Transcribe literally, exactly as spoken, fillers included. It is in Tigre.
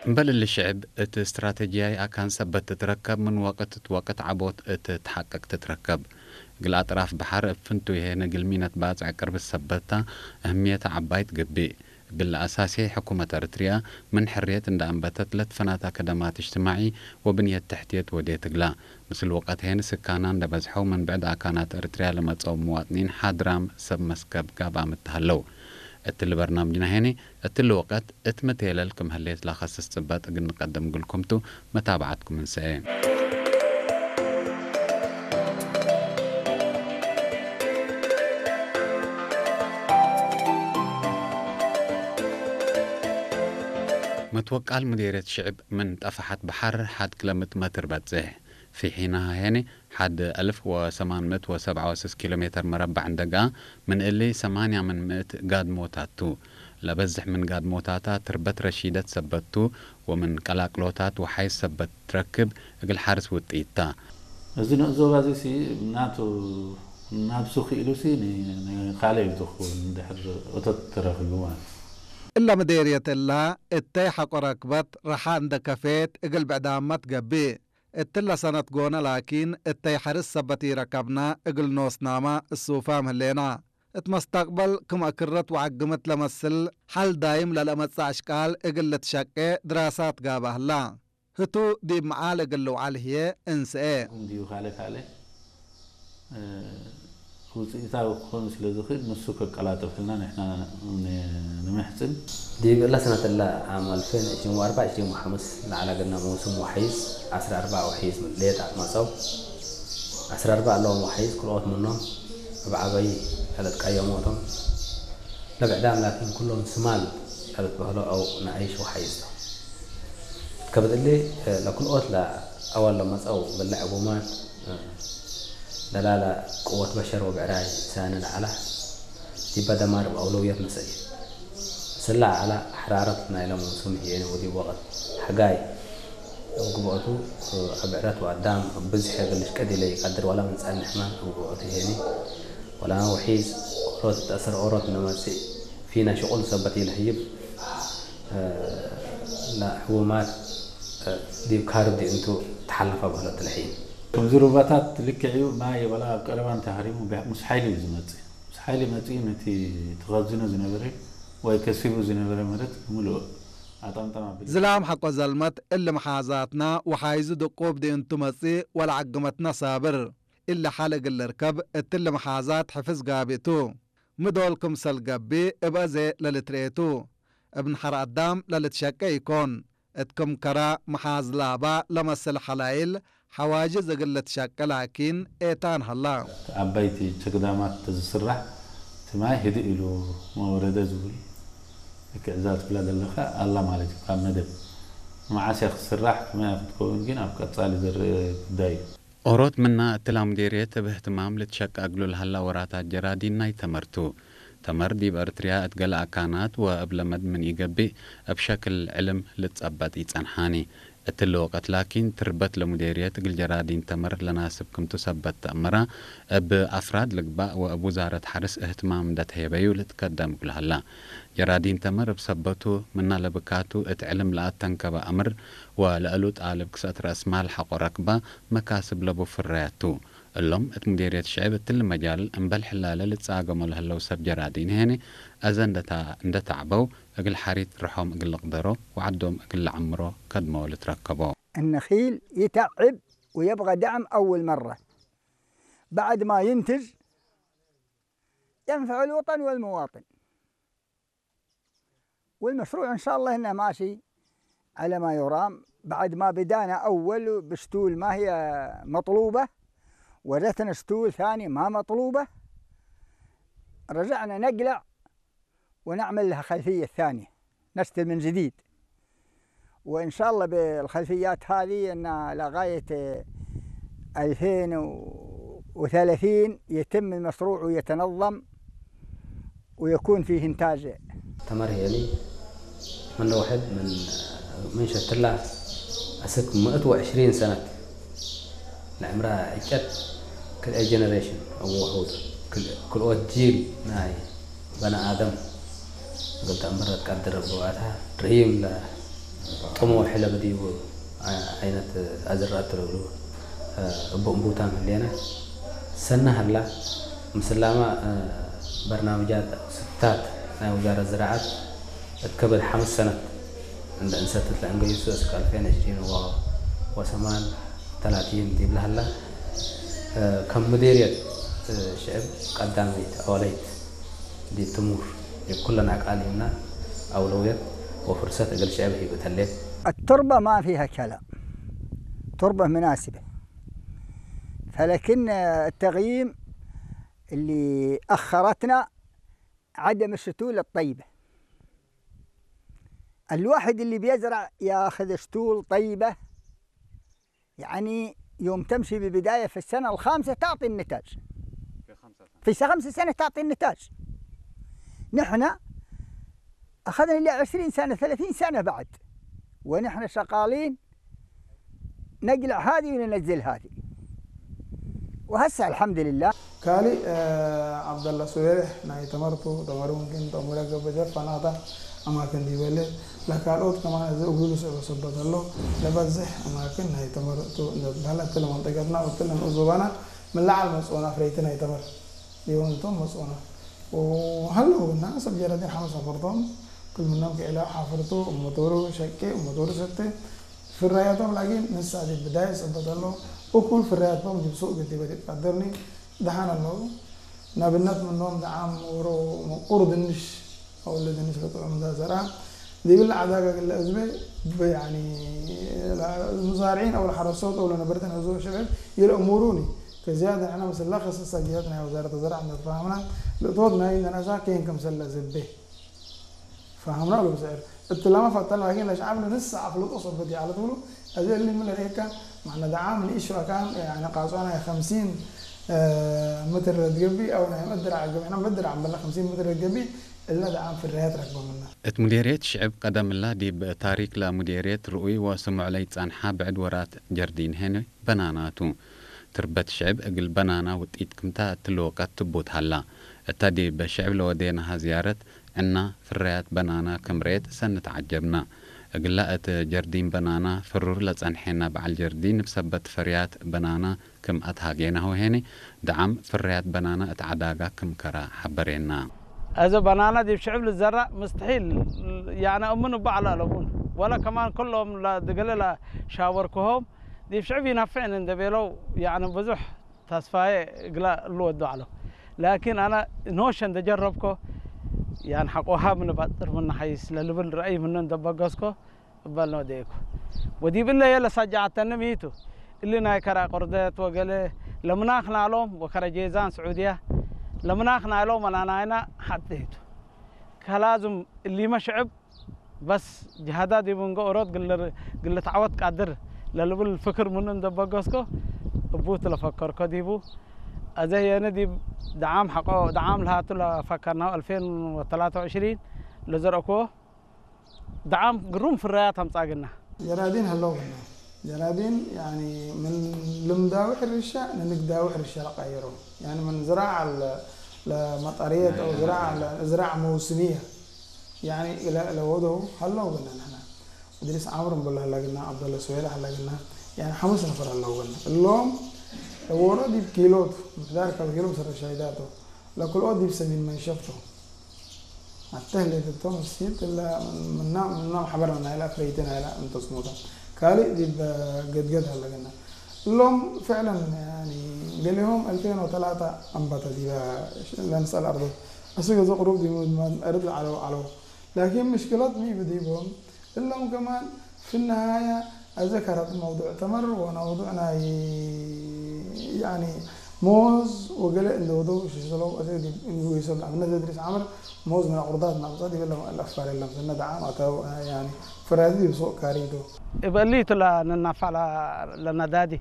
እምበል እሊ ሽዕብ እት እስትራተጅያይ አካን ሰበት ትትረከብ፣ ምን ወቅት እት ወቅት ዐቦት እት ተሐቅቅ ትትረከብ። እግል አጥራፍ በሐር እብ ፍንቱይሄ እግል ሚነት ባጽዕ ቅርብ ሰበት ተ፣ እህምየተ ዐባይ ትገብእ። እግል ለአሳሴ ሕኩመት ኤረትርያ ምን ሕርየት እንደ አንበተት ለትፈናተ ከደማት እጅትማዒ ወብንየት ተሕትየት ወዴት እግላ። ምስል ወቀት ሄን ስካና እንደ በዝሐው ምን ብዕድ አካናት ኤረትርያ ለመጸው ምዋጥኒን ሓድራም ሰብ መስከብ ጋብአም እት ሀለው። እትሊ በርናምጅና ሄኒ እትሊ ወቀት እት ምቴለል ክም ህሌት ለከስስ ጽበጥ እግል ንቀድም እግልኩም ቱ። መታብዓትኩም እንሰኤ። መትወቃል ሙዴርየት ሽዕብ ምን ጠፈሐት በሐር ሐድ ክለምት መትር በጽሕ። ፊ ሒናሃ ሄኒ ሐድ አልፍ ወሰማን ምእት ወሰብዓ ወስስ ኪሎ ሜተር መረባዕ እንደ ገአ፣ ምን እሊ ሰማንያ ምን ምእት ጋድሞታት ቱ። ለበዝሕ ምን ጋድሞታታ ትርበት ረሺደት ሰበት ቱ፣ ወምን ቀላቅሎታት ወሓይዝ ሰበት ትረክብ እግል ሐርስ ውጥኢት ታ። እዚ ንእዞባዚሲ ናቱ ናብሱ ክኢሉሲ ኒ-፣ ኒ-፣ ካልእ እዩ ዝኸውን እንድሕር እቶት ተረኪቡ ማለት። እለ ምዴርየት እላ እተይ ሐቆ ረክበት ረሓ እንደ ከፌት እግል ብዕዳመት ገብእ። እትለ ሰነት ጎነ ላኪን፣ እተይ ሐርስ ሰበት ኢረከብነ እግል ኖስናመ እሱፋም ህሌና። እት መስተቅበል ክም አክረት ወዐግምት ለመስል ሐል ዳይም ለለአመጽእ አሽቃል እግል ልትሸቄ ድራሳት ጋብእ ህላ። ህቱ ዲብ መዓል እግል ልውዓል ህዬ እንስኤ። እንዲዩ ካልእ ካልእ እ፣ ውጽኢታዊ ክኾን ስለ ዝኽእል፣ ንሱ ከቀላጥፍልና ንሕና ን-፣ ንምሕጽን። ዲብ እለ ሰነት እለ፣ ዓም አልፌን ዕሽሪን ወአርበዕ ዕሽሪን ወሐምስ ለዐለ ገና መውሱም ወሐይዝ፣ ዐስር አርበዕ ወሐይዝ ሌጣ መጸው። ዐስር አርበዕ እሎም ወሐይዝ ክልኦት ምኖም እብ ዐበይ ለልትቀየሞ ቶም። ለብዕዳም ላኪን፣ ኩሎም ስማል ለልትበህሎ አው ነአይሽ ወሐይዝ ቶም። ከብድ እሊ፣ ለክልኦት ለአወል ለመጸው ብልዕ ዕቡማት፣ ደላለ ቅወት በሸር ወብዕራይ ሳኒ ለዐለ፣ ዲበ ደማር እብ አውለውየት ነስአየ። ምስላ ዐለ፣ ሐራረት ናይለ መውሱም ህዬ ወዲብ ወቅት ሐጋይ እብ ግብአቱ፣ አብዕረት ወአዳም እብ ብዝሕ እግል ልሽቀድ ኢለኢቀድር ወለ ምን ጸንሕመ እብ ግብአቱ ህዬኒ፣ ወለመ ወሒዝ ኦሮት እት አስር ኦሮት እንዴ መጽእ ፊነ ሽቁል ሰበት ኢለህይብ፣ ለሕቡማት ዲብ ካርብ ዲእንቱ ተሐለፈ በህለት ለሐይን። ክም ዝሩባታት ልክዕዩ ማይ ወላ አብ ቀረባን ተህሪሙ ሙስ ሓይሊ እዩ ዝመጽእ። ሙስ ሓይሊ መጽኡ ምን እቲ ትኸዝኑ ዝነበረ ወይ ከሲቡ ዝነበረ መደት ምሉእ አጠምጠም አብል። ዝላም ሐቆ ዘልመት እሊ መሓዛትና ወሓይዙ ድቁብ ዲእንቱ መጽእ ወለዐግመትና ሳብር። እሊ ሐል እግል ልርከብ እትሊ መሓዛት ሕፍዝ ጋብእ ቱ። ሚ ዶል ክምሰል ገብእ እብ አዜ ለልትርኤ ቱ። እብ ነሐር አዳም ለልትሸቄ ኢኮን። እት ክም ከረ መሓዝ ላባ ለመስል ሐላይል ሐዋጅዝ እግል ልትሸቄ ላኪን ኤታን ሀላ። አባይቲ ቸግዳማት ተዝስራሕ ትማይ ህድእ ኢሉ መወረደ ዝብል እክዕዛት ብላ ደለኸ አላ ማለት እዩ። ካብ መደብ መዓስ ክስራሕ ክመይ ክትከውን ግን ኣብ ቀጻሊ ዝርእ ጉዳይ እዩ። ኦሮት ምና እትላ ሙዴርየት እብ እህትማም ልትሸቀ እግሉ ለሀላ ወራታት ጀራዲን ናይ ተመር ቱ። ተመር ዲብ ኤርትርያ እት ገሌ አካናት ወእብ ለመድ ምን ኢገብእ እብ ሸክል ዕልም ልትጸበጥ ኢጸንሓኒ። እትሊ ወቀት ላኪን ትርበት ለሙዴርየት እግል ጀራዲን ተመር ለናስብ ክምቱ ሰበት ተአመራ፣ እብ አፍራድ ልግባእ ወእብ ውዛረት ሐርስ እህትማም እንደ ተሄበዩ ልትከደም እግሉ ሀላ። ጀራዲን ተመር እብ ሰበቱ ምና ለብካቱ እት ዕልም ለአተንከበ አምር ወለእሉ ጣልብ ክሰእት ረአስማል ሐቆ ረክባ መካስብ ለቡ ፍረያት ቱ። እሎም እት ሙዴርየት ሽዕብ እትሊ መጃል እምበል ሕላለ ልትጻገሞ ለህለው ሰብ ጀራዲን ሄኒ አዘ እንደ ታ-፣ እንደ ተዐበው እግል ሐሪት ርሖም እግል ልቅደሮ ወዐዶም እግል ለዐምሮ ከድሞ ልትረከቦ። النخيل يتعب ويبغى دعم أول مرة، بعد ما ينتج ينفع الوطن والمواطن. والمشروع إن شاء الله إنه ماشي على ما يرام. بعد ما بدانا أول بشتول ما هي مطلوبة، ورثنا شتول ثاني ما مطلوبة، رجعنا نقلع ونعمل لها خلفية ثانية، نشتل من جديد. وإن شاء الله بالخلفيات هذه إن لغاية ألفين وثلاثين يتم المشروع ويتنظم ويكون فيه إنتاج. ተመር ሄሊ ምን ለውሕድ ምን፣ ምን ሸትላ አስክ ምእት ወዕሽሪን ሰነት ለዕምራ ዕጨት ክልኤ ጀነሬሽን እብ ውሑድ ክል-፣ ክልኦት ጂል ናይ በነ አደም እግል ተአምር ለትቀድር እብ ግብአታ ርሂም ለ-፣ ጥሙሕ ለበዲቡ ዐይነት አዝራአት ለእሉ እቡ እንቡታም ህሌነ። ሰነ ሀላ፣ ምስላመ በርናምጃት አው ስታት ናይ ውዛረት ዝራዐት እት ከብድ ሐምስ ሰነት እንዴ እንሰትት ለእንገይሱ እስክ አልፌን ዕሽሪን ወሰማን ተላቲን ዲብለ ሀላ፣ ከም ሙዴርየት ሽዕብ ቀዳመይት አወለይት ዲብ ትሙር ዲብ ኩለን አቃሊምና አውለውየት ወፍርሰት እግል ሽዕብ ሂብት ህሌት። التربة ما فيها كلام، تربة مناسبة، فلكن التغييم اللي أخرتنا عدم الشتول الطيبة. الواحد اللي بيزرع ياخذ شتول طيبة، يعني يوم تمشي ببداية في السنة الخامسة تعطي النتاج. في خمسة سنة. في خمس سنة تعطي النتاج. نحن أخذنا لي عشرين سنة، ثلاثين سنة بعد، ونحن شغالين نقلع هذه وننزل هذه. وهسه الحمد لله. ካልእ፣ ዐብደላ ሱቤሕ ናይ ተመር ቱ፣ ተመሩ ምምክን ተእሙረ ገብእ ጀር ፈናተ አማክን ዲበ ህሌት፣ ለካልኦት ከማን እዘ እግሉ ልስዕቦ ሰበት ሀሎ፣ ለበዝሕ አማክን ናይ ተመር ቱ እንዴ ትበሀል፣ እትለ መንጠቀትና ወእትለ ንኡስ ዞባና ምን ለዐል መጽኦነ አፍረይቲ ናይ ተመር ዲቦም ቶም መጽኦነ። ወሀለው ግና ሰብ ጀራዲን ሐመስ ነፈር ቶም፣ ክል ምኖም ክዕላው ሓፍር ቱ፣ እብ መቶሩ ሸቄ፣ እብ መቶሩ ሰቴ፣ ፍራያቶም ላኪን ንሳ ዲብ ብዳየት ሰበት ሀለው፣ እኩል ፍራያቶም ዲብ ሱቅ ግዲበ ዲብ ቀደርኒ ደሓን ሀለው። ናብነት ምኖም ደዓም ወሮ ምቁር ድንሽ አው እለ ድንሽ ለጥዑም እንዳ ዘርአ፣ ዲብለ ዐዳግ እግል ለአዝቤ፣ ብ-፣ ያኒ፣ ለሙዛርዒን አው ለሐረሶት አው ለነበርተን ህዝብ ሽዕብ ይልአሙሩኒ። ከዝያድ ንሕነ ምስለ ከሰሰ ጅሀት ናይ ወዛረት ዘርዕ እንደ ተፋሀምና፣ ለእቶት ናይ ነነሳ ኬን ክምሰል ለአዝቤ። ፈሀምና እሉ ብስዕር እትላመ ፈተን፣ ላኪን ለሸዐብ ለንስእ አፍልጦ ሰበት ይዐለት እሉ። አዜ እሊ ምን ለርኤካ፣ ማዕነ ደዓም ንኢሹ አካን፣ ያኒ ቃጽዋ ናይ ኸምሲን፣ እ፣ ምትር ለትገብእ አው ናይ መድር ዐገብ፣ ሕነ መድር ዐምበለ ኸምሲን ምትር ለትገብእ፣ እለ ደዓም ፍራያት ረክበ ምነ። እት ሙዴርየት ሽዕብ ቀደም እላ ዲብ ታሪክ ለሙዴርየት ርኡይ ወስሙዕ ለይጸንሐ ብዕድ ወራት ጀርዲን ሄነ በናና ቱ። ትርበት ሽዕብ እግል በናና ውጢት ክምተ እትሊ ወቀት ትቡት ሀላ። እተ ዲብ ሽዕብ ለወዴናሃ ዝያረት ዕና ፍራያት በናና ክም ርኤት ሰኒ ተዐጀብና። እግለ እት ጀርዲን በናና ፍሩር ለጸንሐነ በዐል ጀርዲን እብ ሰበት ፍርያት በናና ክም አትሃጌናሁ ሄኒ፣ ደዓም ፍራያት በናና እት ዐዳጋ ክም ከረ ሐበሬና። አዜ በናና ዲብ ሽዕብ ልዘራእ ምስትሒል፣ ያኒ እምን እቡ ዐለ አለቡን። ወለ ከማን ክሎም ለድገለ ለሻወርክሆም ዲብ ሽዕብ ኢነፍዕን እንዴ ቤለው፣ ያኒ ብዙሕ ተስፋዬ እግለ እሉ ወዱ ዐለው። ላኪን አነ ኖሸ እንዴ ጀረብኮ፣ ያን ሐቆሃ ምን ባጥር ምን ሐይስ ለልብል ረአይ ምኑ እንዴ በገስኮ፣ እበል ኖዴኩ። ወዲብ እለ የለ ሳጃዐተኒ ሚቱ፣ እሊ ናይ ከረ አቆርደት ወገሌ ለምናክ ናሎም ወከረ ጄዛን ስዑድያ ለምናክ ናሎም መናናይና ሐቴቱ። ከላዝም እሊመ ሽዕብ በስ ጅሃዳ ዲብ እንገ ኦሮት ግል፣ ግል ልትዐወት ቃድር ለልብል ፍክር ምኑ እንዴ በገስኮ እቡ ትለፈከርኮ ዲቡ። አዜ ህዬነ ዲብ ደዓም ሐቆ፣ ደዓም ለሃቱ ለፈከርናሁ አልፌን ወተላተ ወዕሽሪን ለዘርአኮ ደዓም ግሩም ፍራያት አምጻግና። ጀራዲን ሀለው ግና። ጀራዲን፣ ያኒ፣ ምን ልምዳዊ ሕርሻ ንንግዳዊ ሕርሻ ለቀየሮ። ያኒ፣ ምን ዝራዕ ለ-፣ ለመጠርየት አው ዝራዕ ለ-፣ ዝራዕ መውስምየ፣ ያኒ፣ ለ-፣ ለወደው ሀለው ግና ንሕና። እድሪስ ዓምር እምበል ሀለ ግና፣ ዐብደለ ሱዌለ ሀለ ግና፣ ያኒ፣ ሐምስ ነፈር ሀለው ግና። እሎም ለወሮ ዲብ ኪሎት፣ ምሕዳር ከብኪሎ ምሰረ ሻይዳቶ። ለክልኦት ዲብ ሰሚን መንሸፍቶ። አተህሌት እቶም እሲት እለ ምና፣ ምና ሐበርነ ናይለ አፍረይቲ ናይለ እንተስሞተ። ካልእ ዲብ ገድገድ ሀለ ግና። እሎም ፍዕለን፣ ያኒ፣ ገሌሆም አልፌን ወተላተ አንበተ ዲበ ለንስአል አርዶት። አስክ እዘ ቅሩብ ዲብ ምድማት አርድ ለዐለው ዐለው። ላኪን ምሽክለት ሚ ብዲቦም? እሎም ከማን ፊ ነሃየ አዘከረት መውዱዕ ተመር ወመውዱዕ ናይ፣ ያኒ፣ ሞዝ ወገሌ እንደ ወደው ሽሽለው አዜ ዲብ እንወይሶም ለአብነት እድሪስ ዓምር ሞዝ ምን አቁርዳት ናቁጸ ዲብ ለአፋር የለም። ሰነ ደዓም አተው፣ ያኒ፣ ፍራዚ ዲብ ሱቅ ካሪዶ። እብ እሊቱ ለንናፋዕ ለነዳዲ